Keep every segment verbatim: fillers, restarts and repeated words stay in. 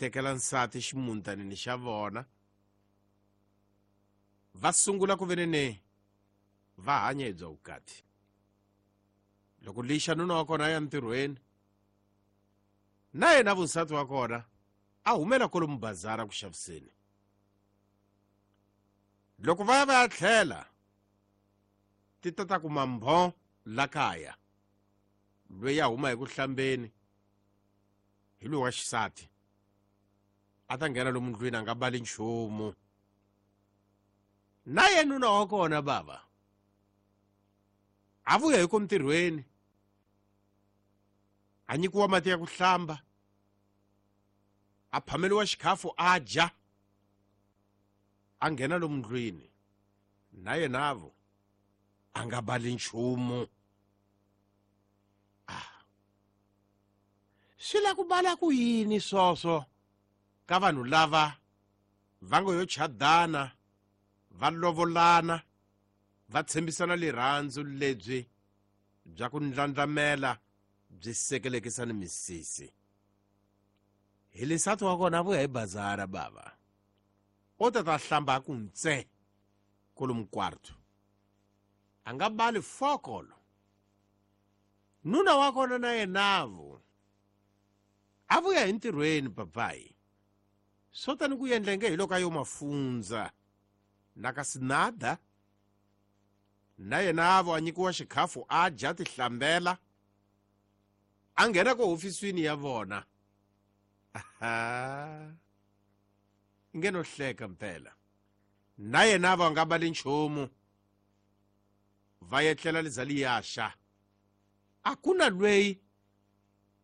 tekela nsati ximuntanini xa vona va sungula ku venene va hanya hi bya vukati. Loko lixa nuna wa kona a ya ntirhweni na yena vunsati wa kona a humela kwalomu bazara ku xaviseni. Loko va ya va ya tlhela ti ta ta kuma mbho la kaya loyi a huma hi ku hlambeni hi loyi wa xisati a ta nghena lomu ndlwini a nga bali nchumu. Na yena nuna wa kona bava a vuya hi ku ntirhweni a nyikiwa mati ya ku hlamba a phameliwa xikhafu a dya a nghena lomu ndlwini na yenavo a nga bali nchumu. Ah, swi la ku bala ku yini swoswo ka vanhu lava va ngo yo chadana va lovolana va tshembisana rirhandzu lebyi bya ku ndlandlamela byi sekelekisa ni misisi. Hi lesati wa kona a vuya hi bazara bava o ta ta hlamba a ku ntse kolomu kwarto a nga bali fokolo. Nuna wa kona na yenavo a vuya hi ntirhweni papayi swo tani ku endlenge hi loko a yo mafundza na ka sinada na yenavo a nyikiwa xikhafu a dya tihlambela a nghena ko hofisini ya vona. Aha, nge no hleka mpela na yena va nga bali nchumu va yetlela lizali yaxa a ku na lweyi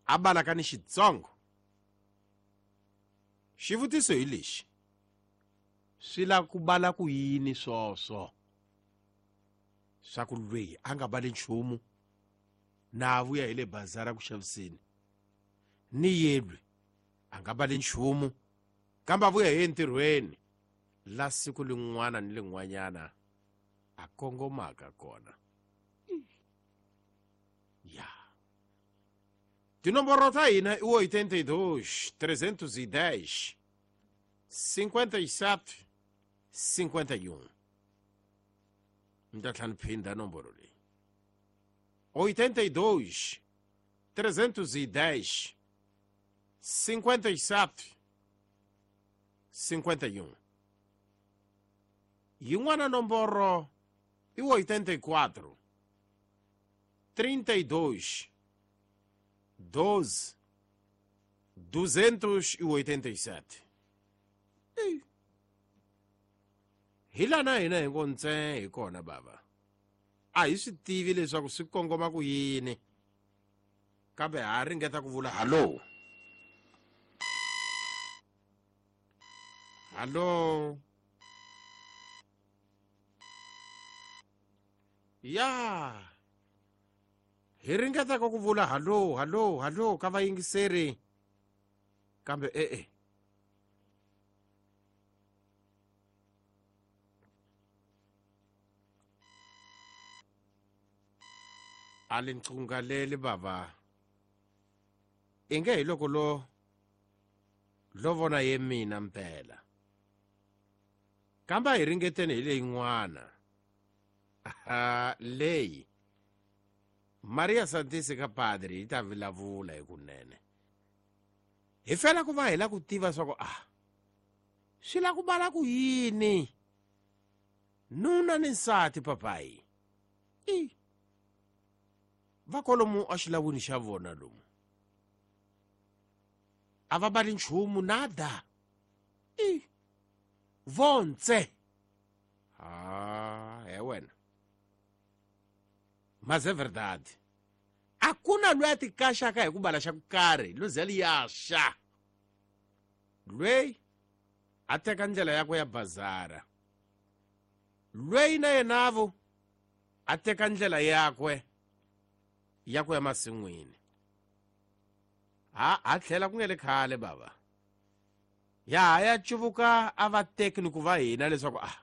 a balaka ni xitsongo. Xivutiso hi lexi swi la ku bala ku yini swoswo swa ku lweyi a nga bali nchumu na a vuya hi le bazara ku xaviseni ni yelwe a nga bali nchumu kambe a vuya hi entirhweni la siku lin'wana ni lin'wanyana a kongomaka kona. Ya tinomboro ta hina i oitenta e dois, trezentos e dez, cinquenta e sete, cinquenta e um. Mi ta tlhela ni phinda nomboro leyi oitenta e dois, trezentos e dez, cinquenta e sete, cinquenta e um. Yin'wana nomboro i oitenta e quatro, trinta e dois, doze, duzentos e oitenta e sete. Hi lana hina hi ngo ntse hi kona bava a hi swi tivi leswaku swi kongoma ku yini kambe ha ringeta ku vula hallo hallo ya hi ringetaka ku vula hallo hallo hallo ka vayingiseri kambe e-e a li nqungaleli bava inge hi loko lo lo vona ye mina mpela kambe a hi ringeteni hi leyin'wana leyi Maria Santisi ka padre yi ta vulavula hi kunene hi fela ku va hi la ku tiva swa ku ah swi la ku bala ku yini nuna ni nsati papayi i va kwalomu a xilawini xa vona lomu a va bali nchumu nada i vontse ah he wena mas é verdade a ku na loyi a ti kaxaka hi ku bala xa ku karhi lozeli ya xa lweyi a teka ndlela yakwe ya bazara lweyi na yenavo a teka ndlela yakwe ya ku ya masin'wini ha ha tlhela ku nge le khale bava ya ha ya cuvuka a va teki ni ku va hina leswaku ah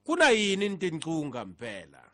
ku na yini ni tinqunga mpela.